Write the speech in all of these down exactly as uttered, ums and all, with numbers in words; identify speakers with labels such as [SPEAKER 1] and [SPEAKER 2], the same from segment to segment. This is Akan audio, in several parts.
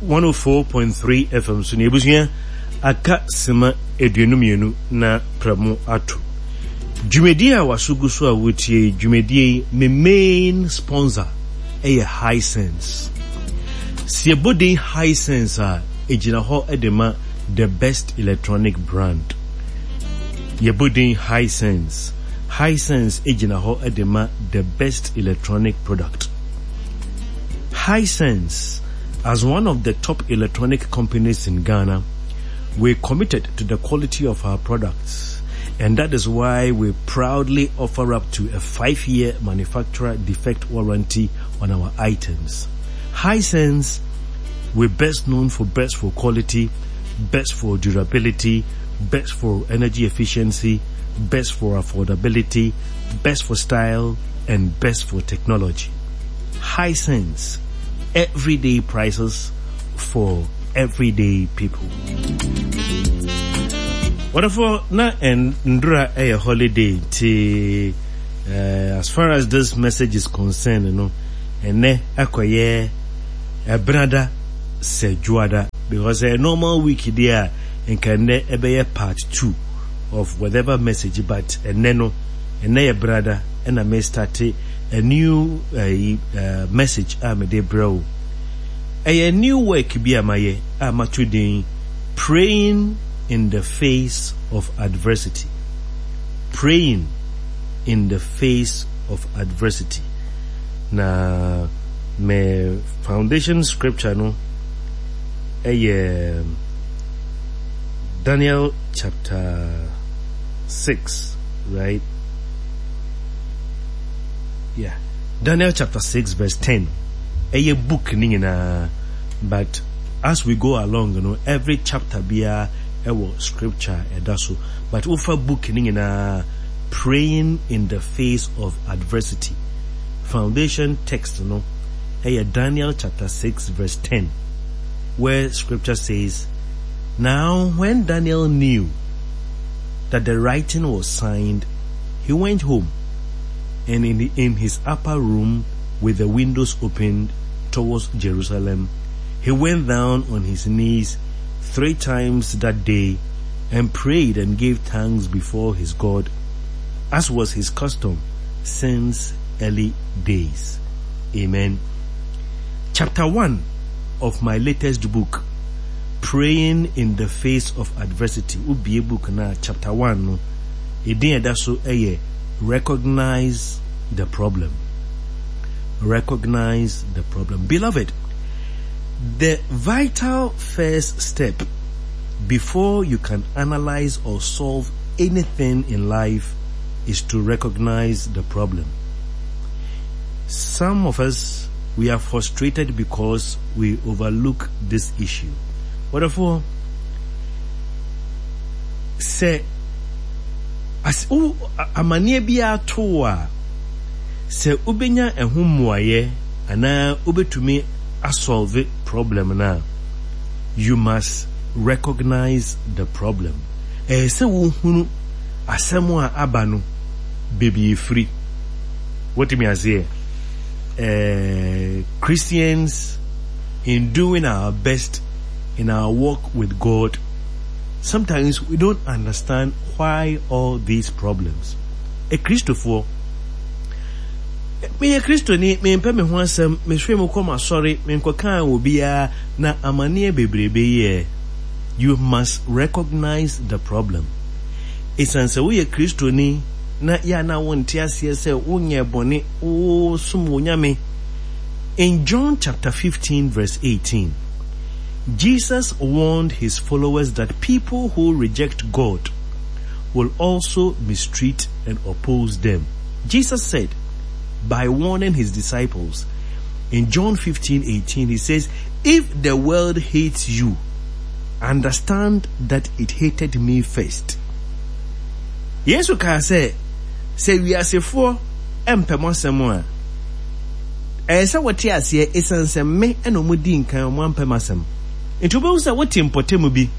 [SPEAKER 1] one oh four point three F M so. Na ebusua, aka sima aduonu mmienu na prɛmo ato. Dwumadie a waso gu so a wotie yi, dwumadie yi, me main sponsor ɛyɛ Hisense. Si ɛbɔ din Hisense a, egyina hɔ de ma the best electronic brand. Yɛbɔ din Hisense, Hisense egyina hɔ de ma the best electronic product. Hisense, as one of the top electronic companies in Ghana, we're committed to the quality of our products, and that is why we proudly offer up to a five-year manufacturer defect warranty on our items. Hisense, we're best known for best for quality, best for durability, best for energy efficiency, best for affordability, best for style, and best for technology. Hisense, everyday prices for everyday people. Wonderful, na nnora a holiday nti uh, as far as this message is concerned, you know, ɛnɛ akɔyɛ ɛbenada sɛ dwoada, because a normal week deɛ a, nka nnɛ ɛbɛyɛ part two of whatever message, but ɛnɛ no, ɛnɛ yɛ benada ɛna me start a new uh, uh, message a mede brɛ wo. Ɛyɛ new work bi a mayɛ a mato din "Praying in the Face of Adversity". "Praying in the Face of Adversity". Na me foundation scripture no ɛyɛ Daniel chapter six, right? Yeah. Daniel chapter six verse ten. Ɛyɛ book ni nyinaa, but as we go along, you know, every chapter biara ɛwɔ scripture ɛda so. But wofa book ni nyinaa, "Praying in the Face of Adversity". Foundation text no ɛyɛ Daniel chapter six verse ten, where scripture says, "Now when Daniel knew that the writing was signed, he went home, and in, the, in his upper room with the windows opened towards Jerusalem, he went down on his knees three times that day and prayed and gave thanks before his God, as was his custom since early days." Amen. Chapter one of my latest book, "Praying in the Face of Adversity". Wobue book na chapter one no, edin ɛda so ɛyɛ "Recognize the Problem". Recognize the problem. Beloved, the vital first step before you can analyze or solve anything in life is to recognize the problem. Some of us, we are frustrated because we overlook this issue. Wherefore, sɛ as wo amanneɛ biara to wo a, sɛ wobɛnya ɛho mmuayɛ anaa wobɛtumi asolve problem no a, you must recognize the problem. Ɛyɛ sɛ wohunu asɛm a aba no baabi efiri. Wotumi aseɛ? uh, Christians, in doing our best in our walk with God, sometimes we don't understand why all these problems. A Christopher, meyɛ Kristoni, mempɛ me ho asɛm, mehwɛ mu kɔ m'asɔre, menkɔkaa wɔ biara na amanneɛ bebrebe yɛ. You must recognize the problem. Ɛsiane sɛ woyɛ Kristoni na yɛ na wonte aseɛ sɛ wonyɛ bɔne, wosom wo Nyame. In John chapter fifteen verse eighteen, Jesus warned his followers that people who reject God will also mistreat and oppose them. Jesus said, by warning his disciples, in John fifteen eighteen, he says, "If the world hates you, understand that it hated me first." Yesu kaa sɛ, sɛ wiasefoɔ mpɛ mo asɛm a, ɛyɛ sɛ wɔte aseɛ ɛsiane sɛ me ɛna ɔmo di nkan ɔmo ampɛ m'asɛm. Nti wobɛhu sɛ wote mpɔtam bi,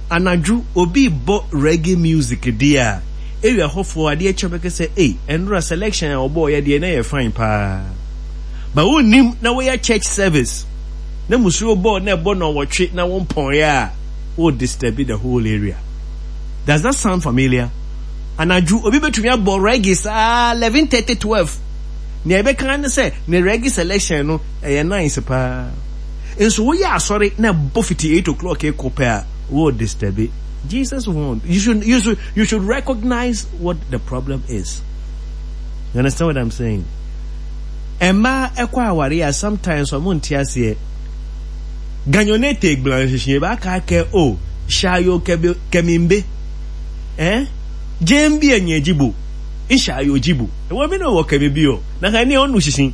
[SPEAKER 1] anadwo obi bɔ reggae music deɛ a, area hɔfoɔ adeɛ kyɛ bɛkɛ sɛ, "Ei, ɛnora selection a ɔbɔɔ yɛ deɛ na yɛ fine paa." Ba wonnim na woyɛ church service. Na musuo bɔ na ɛbɔ nnɔnwɔtwe na wompɔn a, wo disturb the whole area. Does that sound familiar? Anadwo obi betumi abɔ reggae saa eleven thirty twelve. Nea ɛbɛka ne sɛ ne reggae selection no ɛyɛ nice paa. Nso woyɛ asɔre na ɛbɔ fiti eight o'clock ekɔ pɛ a, wo disturb. Jesus warned. You should you should you should recognize what the problem is. You understand what I'm saying? Mmaa ɛkɔ aware a sometimes ɔmo nte aseɛ. Ganyonete gblanhyehyɛ ba aka kɛ o shayo kɛbe kɛmimbe. Eh? Jembi enye jibo. Nshayo jibo. Ewo mi no wɔ kɛmi bi o. Na ka ni onu sisi.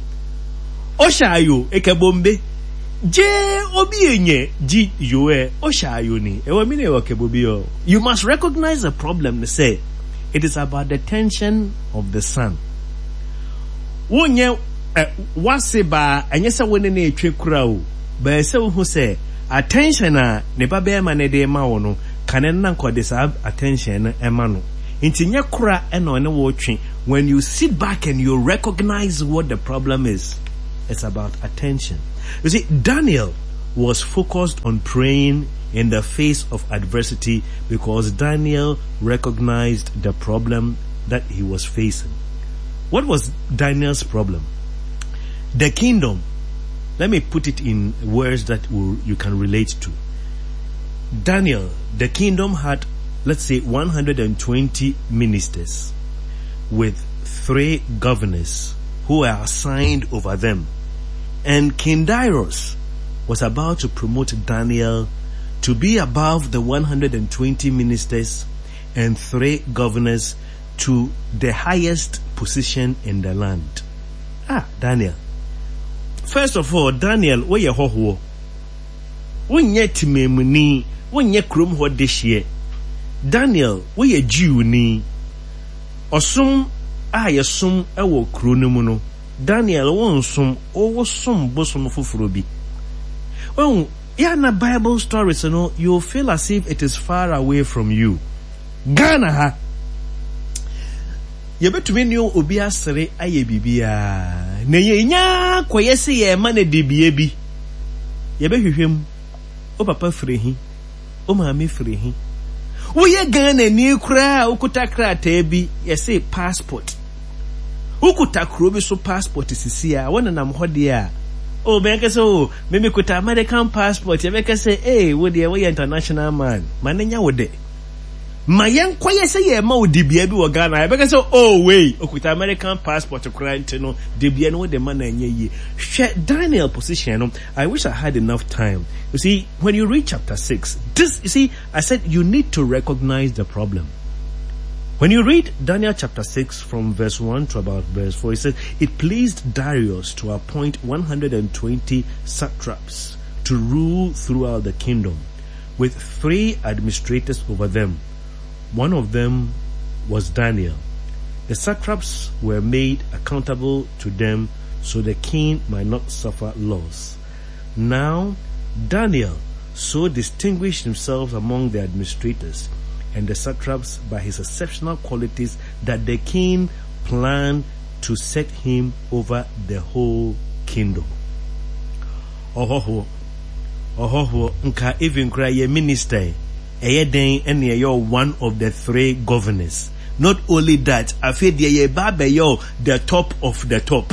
[SPEAKER 1] O shayo ekebombe. Je obi enye ji yo e o shayo ni. Ewo mi no wɔ kɛbo bi o. You must recognize the problem say it is about the tension of the sun. Wonyɛ ɛ wase baa ɛnyɛ sɛ wo ne ne etwe kura o. Bɛyɛ sɛ wohu sɛ attention a ne ba bɛrima ne de ma wo no kane na nkɔde saa attention no ɛma no. Nti nyɛ kora ɛna ɔne wo twe. When you sit back and you recognize what the problem is, it's about attention. You see, Daniel was focused on praying in the face of adversity because Daniel recognized the problem that he was facing. What was Daniel's problem? The kingdom, let me put it in words that will, you can relate to. Daniel, the kingdom had, let's say, one hundred twenty ministers with three governors who were assigned over them. And King Darius was about to promote Daniel to be above the one hundred twenty ministers and three governors to the highest position in the land. Ah, Daniel. First of all, Daniel, wo ye hoho. Wo nye timemuni, wo nye krom ho dehye. Daniel, wo ye Jew ni. Osum a yesum ewo kro no mu no. Daniel, wo nsum, wo som bosom foforo bi. Well, yeah, na Bible stories, you know, you feel as if it is far away from you. Ghana ha. Yebetumi ne obi asere aye bibia. Na ye nya koye se ye ma na dibie bi. Yebehwehwem. O papa firi hi. O maame firi hi. Wo ye Ghana ni kra okuta krata bi, ye se passport. Ukuta kro bi so passport sisi a wona nam ho de a. O be ka se o me me kuta American passport ye be ka se eh wo de wo ye international man. Ma ne nya wo de. Ma yen koye se ye ma odibia bi wo Ghana. Ye be ka se oh wey okuta American passport kra nti no dibia no wo de ma na nya yie. Hwɛ Daniel position no. I wish I had enough time. You see, when you read chapter six, this, you see, I said you need to recognize the problem. When you read Daniel chapter six from verse one to about verse four, it says, it pleased Darius to appoint one hundred twenty satraps to rule throughout the kingdom, with three administrators over them. One of them was Daniel. The satraps were made accountable to them so the king might not suffer loss. Now, Daniel so distinguished himself among the administrators and the satraps by his exceptional qualities that the king planned to set him over the whole kingdom. Ohoho, ohoho, nka even cry ye minister, eye den ene ye one of the three governors. Not only that, afe de ye ba be yo the top of the top.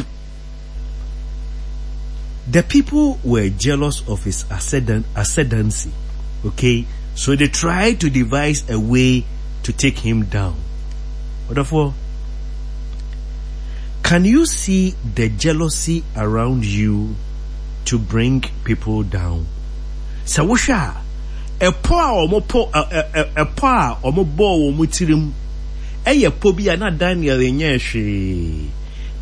[SPEAKER 1] The people were jealous of his ascendant, ascendancy. Okay? So they tried to devise a way to take him down. Therefore, can you see the jealousy around you to bring people down? So wosha, a po omo po a po omo bo omo tirim. Eye po bi na Daniel enye hwe.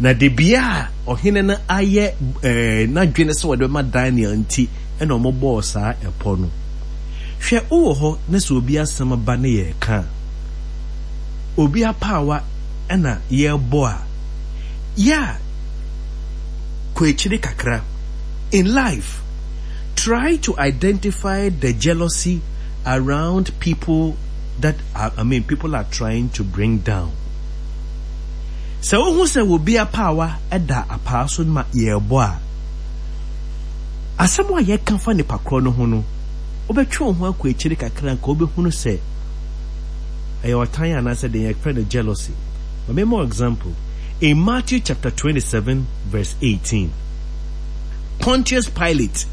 [SPEAKER 1] Na de bia ohene na aye eh na dwene se wode ma Daniel nti e na omo bo saa epo no. Hwe wo ho na se obi asem ba ne ye ka. Obi apawa e na ye bo a. Ya kwechiri kakra. In life, try to identify the jealousy around people that are, I mean, people are trying to bring down. So who say will be a power at that a person ma ye boa? Asɛm a yɛka fa nipa korɔ no ho no, wobɛtwe wo ho akɔ akyiri kakra nka wobɛhunu sɛ ɛyɛ ɔtan anaasɛ deɛ yɛfrɛ no jealousy. Ma me example. In Matthew chapter twenty-seven verse eighteen, Pontius Pilate,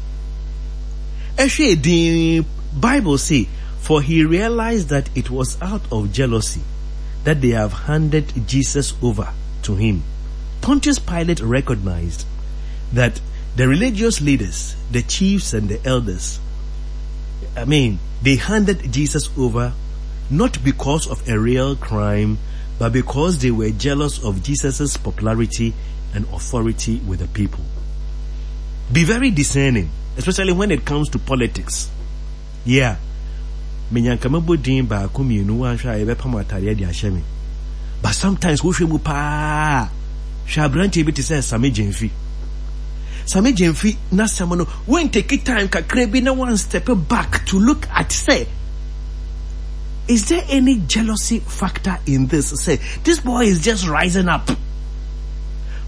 [SPEAKER 1] ɛhwɛ din Bible say, for he realized that it was out of jealousy that they have handed Jesus over to him. Pontius Pilate recognized that the religious leaders, the chiefs and the elders, I mean, they handed Jesus over not because of a real crime, but because they were jealous of Jesus' popularity and authority with the people. Be very discerning, especially when it comes to politics. Yeah. Menyanka mɛbɔ din baako mmienu wanhwɛ a yɛbɛpam atareɛ de ahyɛ me. But sometimes wohwɛ mu paa, hwɛ aberanteɛ bi te sɛ Sammy Gyamfi. Sammy Gyamfi n'asɛm no, when take time kakra bi na one step back to look at say, is there any jealousy factor in this? Say, this boy is just rising up.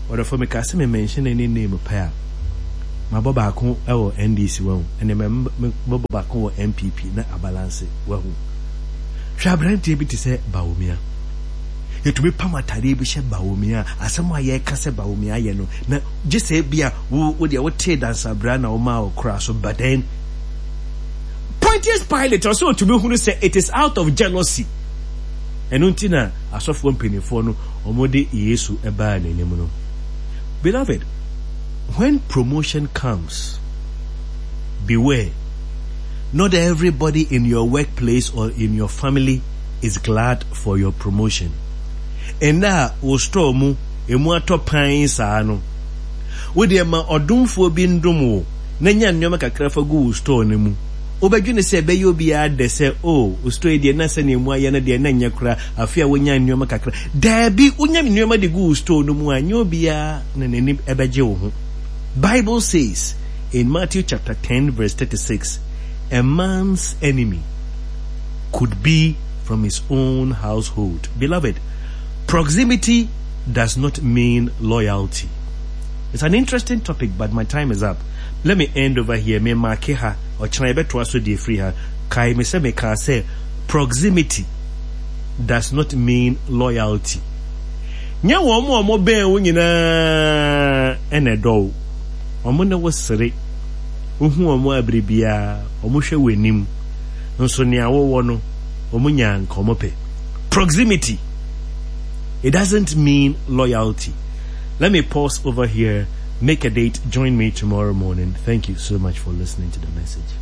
[SPEAKER 1] Ɔdɔfo meka sɛ me mention any name pɛ a, mabɔ baako wɔ N D C wahu, ɛne mɛbɔ baako wɔ N P P na abalance wahu. Hwɛ aberanteɛ bi te sɛ Bawumia. Yɛtumi pam atadeɛ bi hyɛ Bawumia, asɛm a yɛreka sɛ Bawumia yɛ no, na gye sɛ bi a wo wo deɛ wotee dansabra na woma wo kora so, but then Pontius Pilate ɔsɛ ɔtumi hunu sɛ it is out of jealousy. Ɛno nti na asɔfoɔ mpanimfoɔ no wɔde Yesu baa n'anim no. Beloved, when promotion comes, beware. Not everybody in your workplace or in your family is glad for your promotion. Ɛnna a wo store mu emu atɔ pan saa no, wodeɛ ma ɔdomfoɔ bi ndom wo na nya nneɛma kakra fa gu wo store no mu. Wobɛdwene sɛ ɛbɛyɛ obiara dɛ sɛ, oh, wo store yi deɛ na sɛnea emu ayɛ no deɛ na nyɛ koraa, afei a wonya nneɛma kakra. Daabi, wonya nneɛma de gu wo store no mu a, nyɛ obiara na n'ani ɛbɛgye wo ho. Bible says in Matthew chapter ten verse thirty-six, a man's enemy could be from his own household. Beloved, proximity does not mean loyalty. It's an interesting topic, but my time is up. Let me end over here. Me mark ha ɔkyena yɛbɛtoa so deɛ firi ha. Kae me sɛ mekaa sɛ proximity does not mean loyalty. Nyɛ wɔn a wɔn bɛn wo nyinaa ɛna ɛdɔ wo. Wɔn ne wo sere. Wohu wɔn abere biara, wɔn hwɛ w'anim. Nso nea wɔwɔ no, wɔn nya nka wɔn pɛ. Proximity, it doesn't mean loyalty. Let me pause over here. Make a date. Join me tomorrow morning. Thank you so much for listening to the message.